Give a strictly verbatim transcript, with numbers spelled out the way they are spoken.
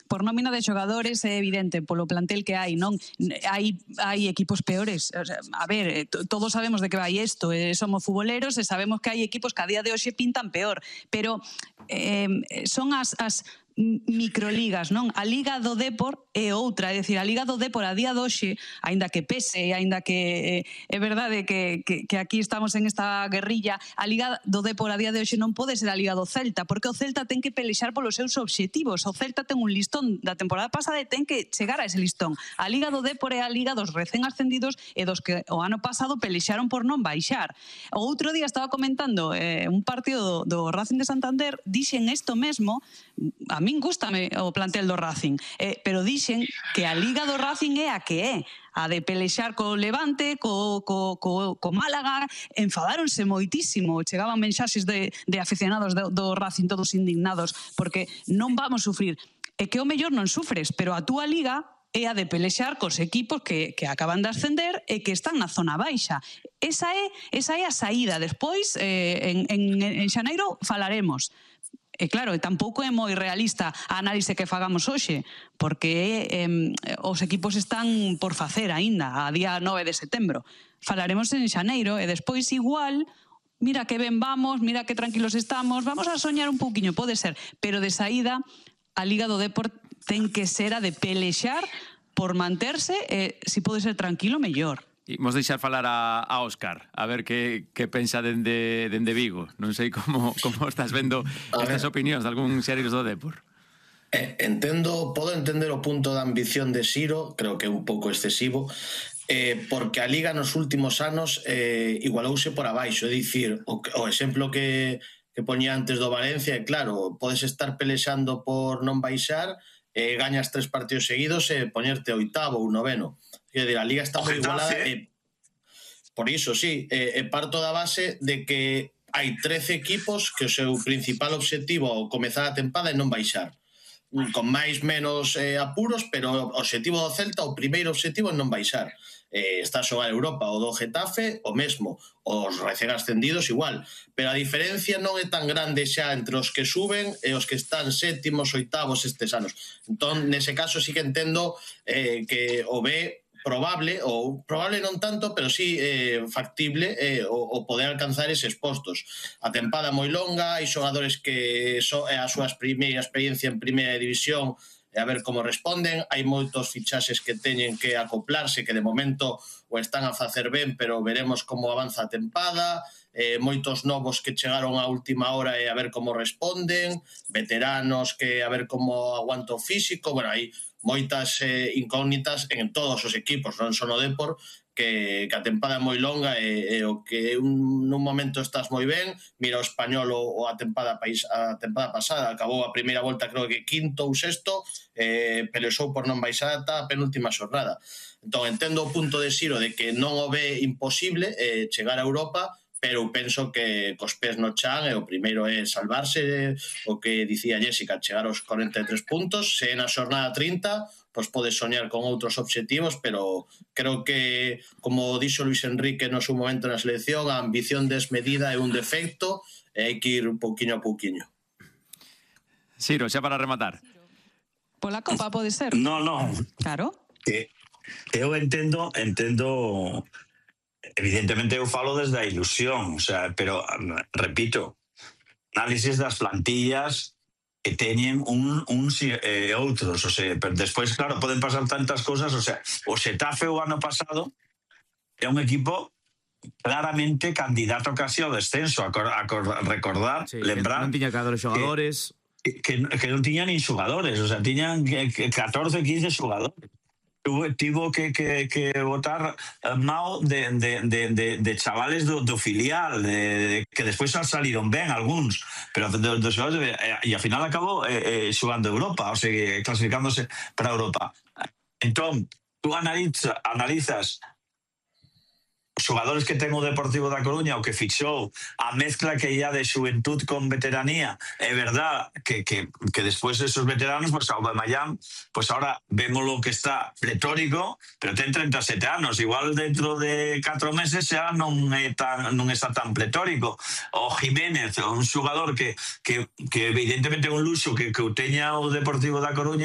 por nómina de xogadores é evidente polo plantel que hai, non? Hai, hai equipos peores. O sea, a ver, todos sabemos de que vai isto, eh, somos futboleros e sabemos que hai equipos que a día de hoxe pintan peor, pero eh, son as, as microligas, non? A Liga do Depor é outra, é dicir, a Liga do Depor a día de hoxe, aínda que pese, aínda que é verdade que, que, que aquí estamos en esta guerrilla, a Liga do Depor a día de hoxe non pode ser a Liga do Celta, porque o Celta ten que pelexar polos seus obxectivos. O Celta ten un listón da temporada pasada e ten que chegar a ese listón. A Liga do Depor é a Liga dos recén ascendidos e dos que o ano pasado pelexaron por non baixar. O outro día estaba comentando eh, un partido do, do Racing de Santander, dixen isto mesmo, a min gústame o plantel do Racing, eh, pero dixen que a Liga do Racing é a que é, a de pelexar co Levante, co, co, co, co Málaga, enfadáronse moitísimo, chegaban mensaxes de, de aficionados do, do Racing todos indignados, porque non vamos sufrir. É que o mellor non sufres, pero a túa Liga é a de pelexar cos equipos que, que acaban de ascender e que están na zona baixa. Esa é, esa é a saída. Despois, eh, en, en, en xaneiro, falaremos. E claro, tampouco é moi realista a análise que fagamos hoxe, porque eh, os equipos están por facer aínda, a día nove de setembro. Falaremos en xaneiro e despois igual, mira que ben vamos, mira que tranquilos estamos, vamos a soñar un pouquiño, pode ser, pero de saída a Liga do Depor ten que ser a de pelexar por manterse e, se pode ser tranquilo, mellor. Imos deixar falar a, a Óscar, a ver que, que pensa dende, dende Vigo. Non sei como, como estás vendo estas opinións de algún xereiros do Depor. Eh, entendo, podo entender o punto da ambición de Siro, creo que é un pouco excesivo, eh, porque a Liga nos últimos anos eh, igualouse por abaixo, é dicir, o, o exemplo que, que poñía antes do Valencia, é claro, podes estar pelexando por non baixar, eh, gañas tres partidos seguidos e poñerte oitavo ou noveno. É dicir, a Liga está moi igualada e, por iso, sí, e, e parto da base de que hai trece equipos que o seu principal obxectivo ao comezar a tempada é non baixar, con máis menos eh, apuros, pero o obxectivo do Celta, o primeiro obxectivo é non baixar. Eh, está a xogar Europa, o do Getafe o mesmo, os recén ascendidos igual, pero a diferencia non é tan grande xa entre os que suben e os que están sétimos, oitavos estes anos. Entón, nese caso sí que entendo eh, que o B probable, ou probable non tanto, pero sí eh, factible eh, o, o poder alcanzar eses postos. A tempada moi longa, hai xogadores que so, é a súa primeira experiencia en primeira división e a ver como responden, hai moitos fichaxes que teñen que acoplarse, que de momento o están a facer ben, pero veremos como avanza a tempada, eh, moitos novos que chegaron á última hora e a ver como responden, veteranos que a ver como aguanta o físico, bueno, hai moitas eh, incógnitas en todos os equipos, non só no Depor, que, que a tempada é moi longa e, e o que un, nun momento estás moi ben, mira o Español o, o a tempada país, a tempada pasada, acabou a primeira volta creo que quinto ou sexto, eh, pelexou por non baixar ata a penúltima xornada. Entón, entendo o punto de Siro de que non o ve imposible eh, chegar a Europa, pero penso que cos pés no chan e o primeiro é salvarse, o que dicía Jessica, chegar aos corenta e tres puntos, se é na xornada trinta, pois podes soñar con outros obxectivos, pero creo que, como dixo Luis Enrique no seu momento na selección, a ambición desmedida é un defecto e hai que ir un pouquiño a pouquiño. Siro, xa para rematar. Pola Copa pode ser? No, no. Claro. Que eu entendo, entendo... Evidentemente eu falo desde a ilusión, o sea, pero repito, análisis das plantillas que teñen un, uns e eh, outros, o sea, pero despois, claro, poden pasar tantas cousas, o sea, o Xetafe o ano pasado é un equipo claramente candidato casi ao descenso, a, cor, a cor, recordar, sí, lembrar... Non tiña cada dos xogadores... Que, que, que non tiñan nin xogadores, o sea, tiñan catorce, quince xogadores. Tivo que, que, que votar Mao de, de, de, de, de chavales do, do filial, de, de, que despois saliron ben algúns, pero dos do xogadores, e ao final acabou eh, eh, xogando Europa, o sea, clasificándose para Europa. Entón, tú analiza, analizas os xogadores que ten o Deportivo da Coruña, o que fixou, a mezcla que ia de xuventud con veteranía, é verdad que, que, que despois esos veteranos, pues Aubameyang, pues ahora vemos lo que está pletórico, pero ten treinta e sete anos, igual dentro de catro meses xa non é tan, non está tan pletórico. O Jiménez, un xogador que, que, que evidentemente é un luxo que, que o teña o Deportivo da Coruña,